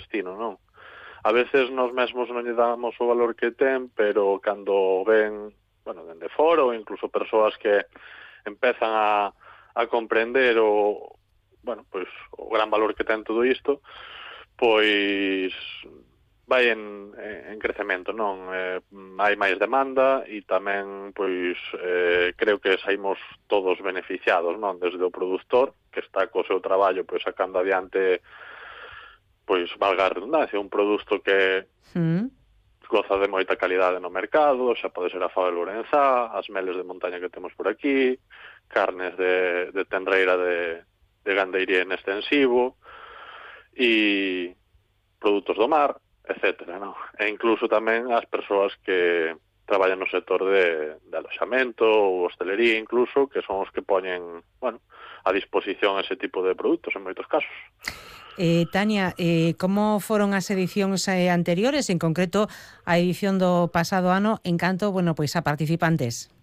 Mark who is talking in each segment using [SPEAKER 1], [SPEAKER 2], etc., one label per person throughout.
[SPEAKER 1] destino, non? A veces nós mesmos non lle damos o valor que ten, pero cando ven, bueno, dende fora ou incluso persoas que empezan a comprender bueno, pois o gran valor que ten todo isto, pois vai en crecemento, non? Hai máis demanda e tamén, pois, creo que saímos todos beneficiados, non? Desde o produtor, que está co seu traballo, pois, sacando adiante, pois, valga a redundancia, un produto que goza de moita calidade no mercado, xa pode ser a fava de Lourenzá, as meles de montaña que temos por aquí, carnes de tenreira de gandeiría en extensivo e produtos do mar, etcétera, non? E incluso tamén as persoas que traballan no sector de aloxamento ou hostelería incluso, que son os que poñen, bueno, a disposición ese tipo de produtos en moitos casos.
[SPEAKER 2] Tania, como foron as edicións anteriores, en concreto a edición do pasado ano, en canto, bueno, pois a participantes?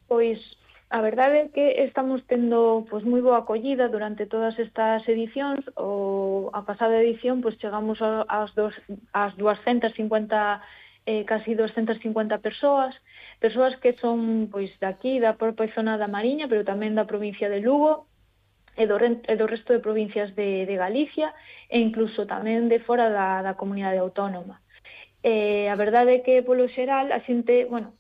[SPEAKER 3] Pois a verdade é que estamos tendo pois moi boa acollida durante todas estas edicións. A pasada edición pois chegamos ás 250 casi 250 persoas que son pois daqui, da propia zona da Mariña, pero tamén da provincia de Lugo e do resto de provincias de Galicia e incluso tamén de fora da comunidade autónoma. A verdade é que polo xeral a xente, bueno,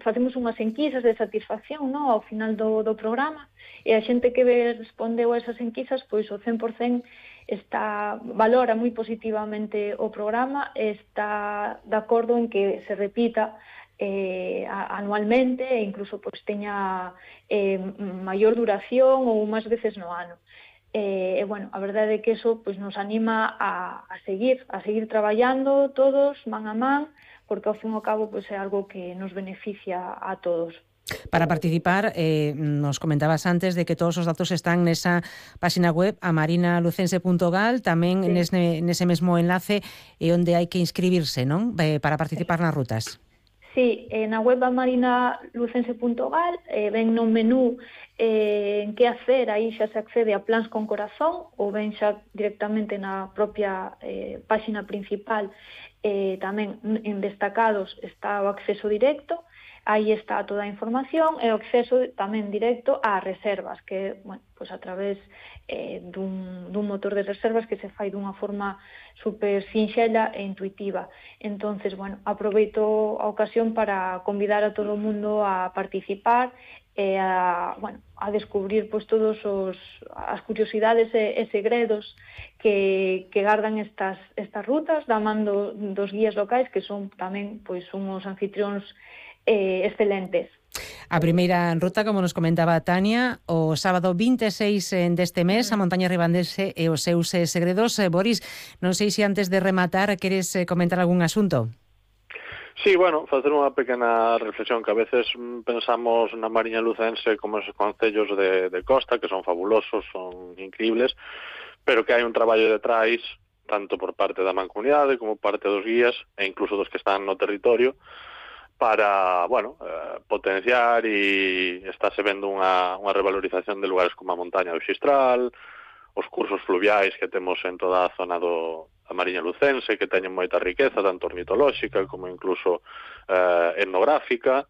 [SPEAKER 3] facemos unhas enquisas de satisfacción, no, ao final do programa, e a xente que respondeu a esas enquisas, pois o 100% valora moi positivamente o programa, está de acordo en que se repita anualmente e incluso pois teña maior duración ou máis veces no ano. Bueno, a verdade é que eso pois nos anima a seguir traballando todos man a man, porque ao fin e ao cabo pois é algo que nos beneficia a todos.
[SPEAKER 2] Para participar, nos comentabas antes de que todos os datos están nesa página web amarinalucense.gal, tamén nese mesmo enlace onde hai que inscribirse, non? Para participar nas rutas.
[SPEAKER 3] Sí, na web amarinalucense.gal ven no menú en que hacer, aí xa se accede a plans con corazón, ou ven xa directamente na propia página principal. Tamén en destacados está o acceso directo, aí está toda a información, e o acceso tamén directo ás reservas, que, bueno, pois a través dun motor de reservas que se fai dunha forma super sinxela e intuitiva. Entonces, bueno, aproveito a ocasión para convidar a todo o mundo a participar e a descubrir pois todos as curiosidades e segredos que gardan estas rutas, da man dos guías locais, que son tamén pois unhos anfitrións excelentes.
[SPEAKER 2] A primeira ruta, como nos comentaba Tania, o sábado 26 deste mes, a montaña ribandense e os seus segredos. Boris, non sei se antes de rematar queres comentar algún asunto.
[SPEAKER 1] Sí, bueno, facer unha pequena reflexión, que a veces pensamos na Mariña Lucense como esos concellos de costa, que son fabulosos, son increíbles, pero que hai un traballo detrás, tanto por parte da mancomunidade como por parte dos guías, e incluso dos que están no territorio, para, bueno, potenciar, e estáse vendo unha revalorización de lugares como a montaña do Xistral, os cursos fluviais que temos en toda a zona da Mariña Lucense, que teñen moita riqueza, tanto ornitolóxica como incluso etnográfica.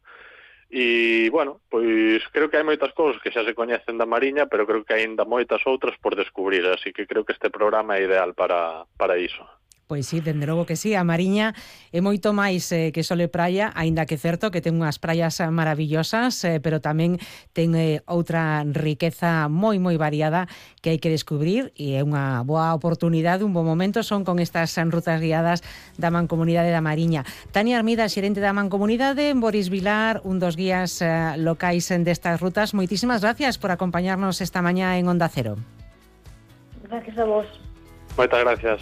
[SPEAKER 1] E, bueno, pois creo que hai moitas cousas que xa se coñecen da Mariña, pero creo que hai ainda moitas outras por descubrir, así que creo que este programa é ideal para iso.
[SPEAKER 2] Pois sí, dende logo que sí, a Mariña é moito máis que sole praia, aínda que certo que ten unhas praias maravillosas, pero tamén ten outra riqueza moi variada que hai que descubrir, e é unha boa oportunidade, un bo momento son con estas rutas guiadas da Mancomunidade da Mariña. Tania Armida, xerente da Mancomunidade, Boris Vilar, un dos guías locais destas rutas, moitísimas gracias por acompañarnos esta mañá en Onda Cero.
[SPEAKER 3] Gracias a vos.
[SPEAKER 1] Moitas gracias.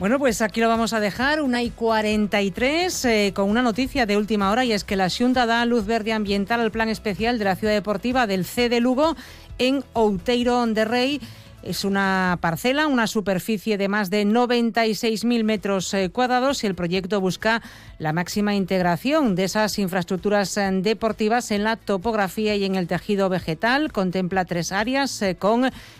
[SPEAKER 2] Bueno, pues aquí lo vamos a dejar, 1:43, con una noticia de última hora, y es que la Xunta da luz verde ambiental al plan especial de la ciudad deportiva del C de Lugo en Outeiro de Rei. Es una parcela, una superficie de más de 96.000 metros cuadrados, y el proyecto busca la máxima integración de esas infraestructuras deportivas en la topografía y en el tejido vegetal. Contempla 3 áreas con